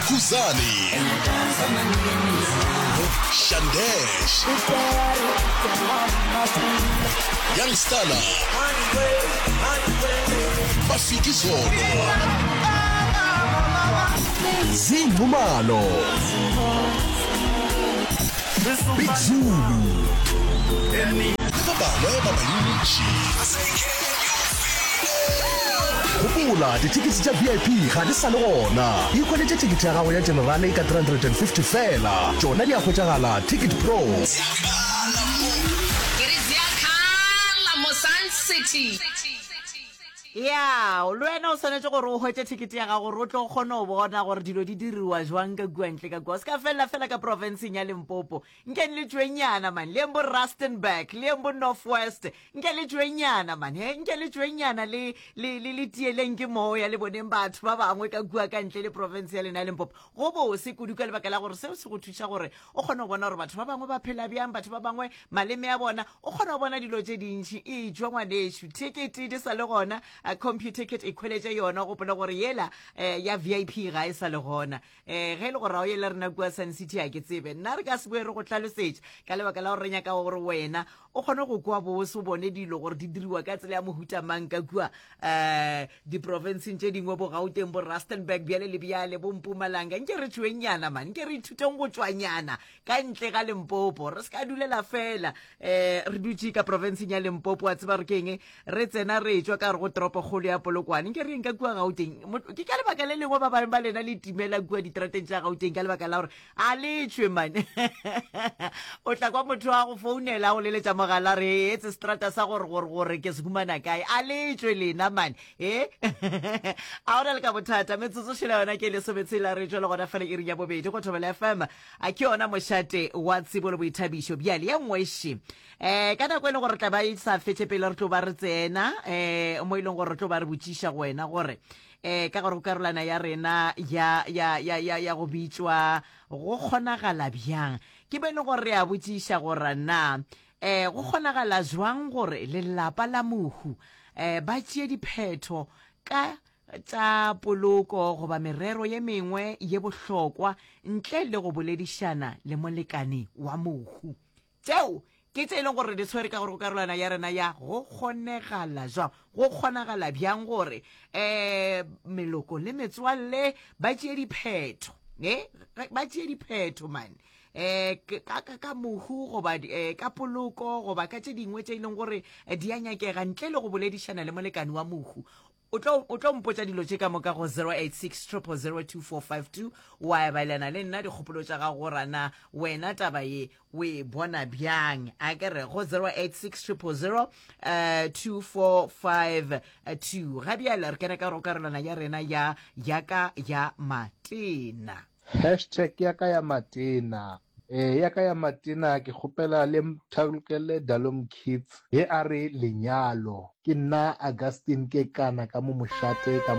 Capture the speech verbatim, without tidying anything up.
Khuzani, Shandesh, Young Stunna, Mafikizolo, Zee Nxumalo, Big Zulu le ba bangwe ba bantši. Gopola, dithekete tša V I P ga di sa le gona. Ikhweletše thekete ya gago ya generale ka three hundred and fifty fela. Tšona di a hwetšagala Ticket Pro. Ke re ziyakhala mo Sun City. Ya, le wena o swanetše gore o hwetše thekete ya gago gore o tlo kgone go bona gore dilo di diriwa jwang ka kua ntle ka kua. O se ka felela fela ka profenseng ya Limpopo. Nke le tšwenyana man, le yeng bo Rustenburg, le yeng bo North West. Nke le tšwenyana man, he, nke le tšwenyana le le le le tieleng ke moya le boneng batho ba bangwe ka kua ka ntle le profense ya lena ya Limpopo. Go bose kudu ka lebaka la gore seo se go thuša gore o kgone go bona gore batho ba bangwe ba phela bjang, batho ba bangwe maleme a bona, o kgona go bona dilo tše dintši. Etšwa ngwanešu, thekete di sa le gona, Computicket e khweletše yona, gopola gore yela eh, ya V I P ga e sa le gona. um ge e le gore ga o ye le rena kua Sun City, a ke tsebe nna re ka se boe re go tlhalosetša ka lebaka la gore re nyaka gore wena o kgone go kwa bose, o bone dilo gore di diriwa ka tsela ya mohuta mang ka kua um diprofenseng tše dingwe, bo Gauteng, bo Rustenburg, bjale le bjale, bo Mpumalanga. Nke re tšwenyana man, nke re ithuteng go tšwanyana ka ntle ga Limpopo, re se ka dulela fela um re dutše ka profenseng ya Limpopo. Wa tseba re keng, re tsena re tšwa ka re go toropokgolo ya Polokwane, nke re yeng ka kua Gauteng. Ke ka lebaka le lengwe ba bangwe ba lena le timela kua diterateng tša Gauteng ka lebaka la gore a le tšwe man. O tla kwa motho a go founela, go leletša mogala, re etse strata sa gore gore gore ke se humana kae, a le tšwe lena man. E a ona le ka bothata. Metsotso šela yona ke lesometshela re tšwe le gona fela iri ya bobedi go Thobela F M, a ke yona mošate wa tsebo le boithabišo. Bjale ya nngwe um ka nako e leng gore tla ba e sa fetše pele re tlo ba re tsena um mo e leng gore re tlo ba re botšiša go wena gore um ka gore go karolwana ya rena ya ya ya ya ya go bitšwa go kgonagala bjang, ke be e leng gore re a botšiša gore na um go kgonagala jwang gore lelapa la mohu um ba tšee diphetho ka tša poloko goba merero ye mengwe ye bohlokwa ntle le go boledišana le molekane wa mohu. Tšeo ke tše e leng gore di tshwere ka gore go karolwana ya rena ya go kgonegala jwang, go kgonagala bjang gore um meloko le metswalle ba tšee diphetho, e ba tšee diphetho man eh ka ka ka mohu goba eh, ka poloko goba ka tše dingwe tše e leng gore di a nyakega ntle le go boledišana le molekane wa mohu. O tlo o tlo mpotša dilo tše ka moka go zero eight six zero zero zero two four five two, wa ebelana le nna dikgopolo tša gago gore na wena taba ye o e bona bjang. A ke re go zero eight six zero zero two four five two. Ga bjale re kena ka go karolwana ya rena ya yaka ya matena. Hashtag ya ka ya matena. Eh, ya ka ya matena, ke kgopela le nthalokele Dalom Kids ye a re lenyalo. Ke nna Augustine ke kana ka mo mošate ka